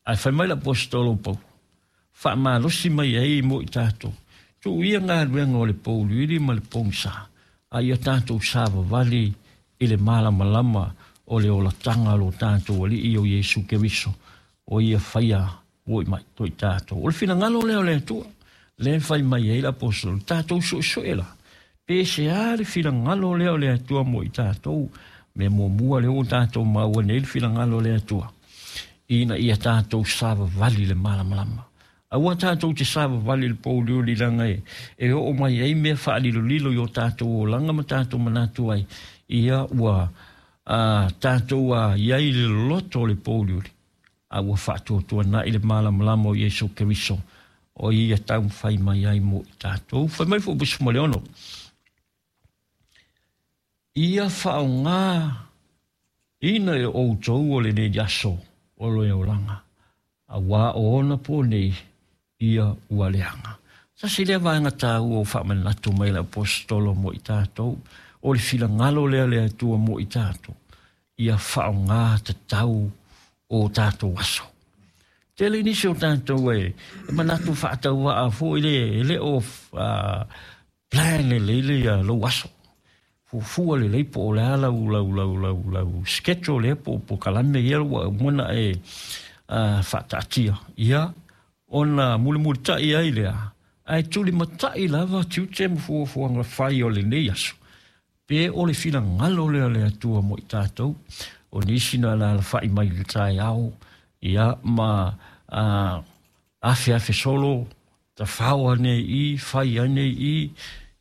Ae fai mai le Aposetolo o Paulo, faamalosi mai ai mo i tatou, tuu ia galuega o le pouliuli ma le pogisa, a ia tatou savavali i le malamalama o le olataga o lo tatou Alii o Iesu Keriso, o ia faia ua mai to i tatou. O le finagalo lea o le Atua, lea e fai mai ai le Aposetolo, tatou suesue la, pe se a le finagalo lea o le Atua mo i tatou, mea muamua lea ua tatou maua nei le finagalo o le Atua, ina ia tatou savavali i le malamalama. Aua tatou te savavali i le pouliuli leaga e oo mai ai mea faalilolilo i o tatou olaga ma tatou manatu ai, ia ua tatou i ai le loto o le pouliuli, a ua faatuatuanai le malamalama o Iesu Keriso, o ia taumafai mai ai mo i tatou. Fai mai foi 16, ia faaaoga ina e outou o lenei aso o le olaga, aua o ona po nei ia ua leaga. Tasi lea vaega taua o faamanatu mai le Aposetolo mo i tatou, o le finagalo lea le Atua mo i tatou, ia faaaoga tatau o tatou aso. Tele nisi o tatou e manatu faatauvaa foi le e le o plan lelei le ia lou aso. Fuafua lelei po o le a lau lau lau lau lau schedule lea po o polokalame ia ua uma ona e faataatia ia ona mulimulitai ai lea, ae tulimatai lava tiute ma fuafuaga fai o lenei aso, pe o le finagalo lea o le Atua mo i tatou. O nisi na alalafa'i mai i le taeao ia ma afeafe solo, tafao ane i, fai ane i,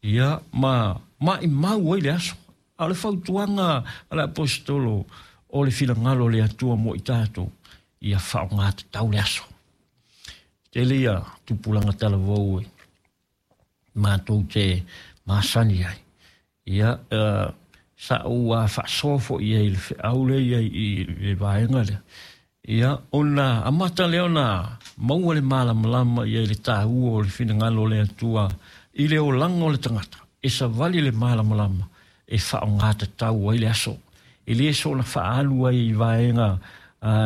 ia ma maimau ai le aso. A o le fautuaga a le Aposetolo o le finagalo o le Atua mo i tatou, ia faaaoga tatau le aso. Tele ia tupulaga talavou e matou te masani ai. Ia, sa ou faasoa foi i ai i le feau lea i ai i le vaega lea. Ia, ona amata lea ona maua le malamalama i ai le taua o le finagalo o le Atua i le olaga o le tagata, e savali le malamalama e faaaoga tatau ai le aso. E le soona faaalu ai i vaega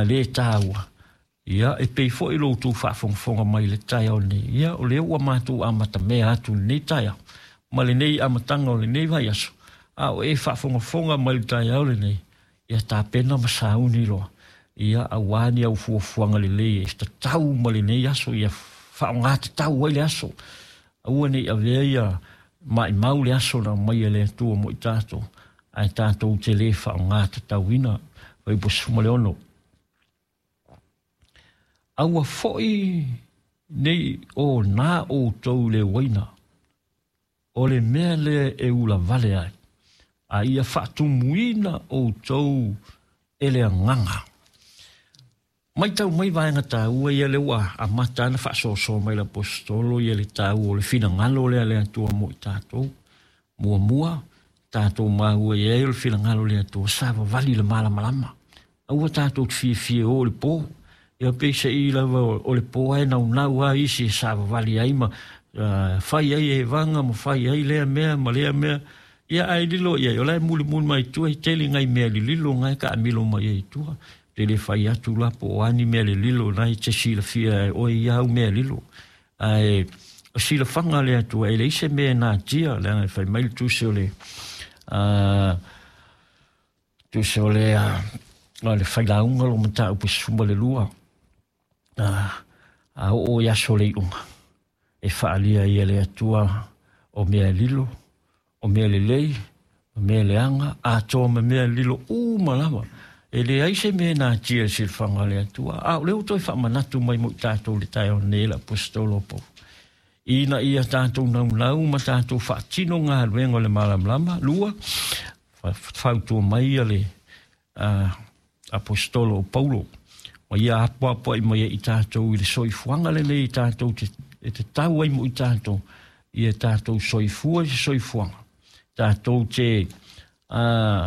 le taua. Ia, e pei foi lo outou faafogafoga mai i le taeao nei, ia, o lea ua matou amatamea atu i lenei taeao, ma lenei amataga o lenei vaiaso, a o e faafogafoga mai i le taeao lenei, ia tapena ma sauni loa, ia aua ni au fuafuaga lelei e tatau ma lenei aso, ia faaaoga tatau ai le aso. Aua ne i avea ia maimau le aso na aumai e le Atua mo i tatou, ae tatou te le faaaoga tatauina. Fuaiupu 16. Aua foi nei o nā outou i le uaina, o le mea lea e ulavale ai, a ia faatumuina outou e le agaga. Matau mai vaega taua ia lea ua amata ana faasoasoa mai le Aposetolo ia le taua o le finagalo lea le Atua mo i tatou. Muamua, tatou maua i ai o le finagalo o le Atua, savavali i le malamalama. Aua tatou te fiafia e o i le po. Ia peiseai lava o le po ae naunau lava isi e savavali ai ma fai ai evaga ma fai ai lea mea ma lea mea. Ia ae lilo i ai, o la e mulimuli mai tua, e tele nai mea lililo na e taamilo mai ai i tua. Te le fai atu la po o a ni mea lililo na e te silafia e oe ia au mea lilo. Ae o silafaga a le Atua, e leai se mea e natia, leaga e fai mai le tusi o le tusi o le o le failauga lo mataupu 12, a oo i aso o le iuga, e faaalia ai e le Atua o mea lilo, o mea lelei, o mea leaga, atoa ma mea lilo uma lava. E leai se mea e natia i le silafaga a le Atua. A o lea ua toe faamanatu mai mo i tatou i le taeao nei e le Aposetolo o Paulo, ina ia tatou naunau ma tatou faatino galuega o le malamalama. Lua, fautua mai ia le Aposetolo o Paulo, ma ia apoapoai mai ai i tatou i le soifuaga lenei i tatou te, e tatau ai mo i tatou, ia tatou soifua i se soifuaga. Tatou te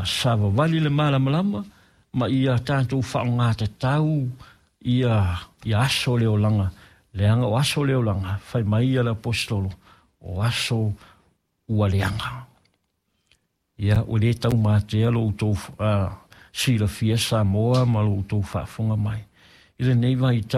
savavali le malamalama, ma ia tatou faaaoga tatau ia aso o le olaga, leaga o aso o le olaga, fai mai ia le Aposetolo, o aso ua leaga. Ia, ua le taumatea lo outou silafia Samoa ma lo outou faafofoga mai i lenei vaitau.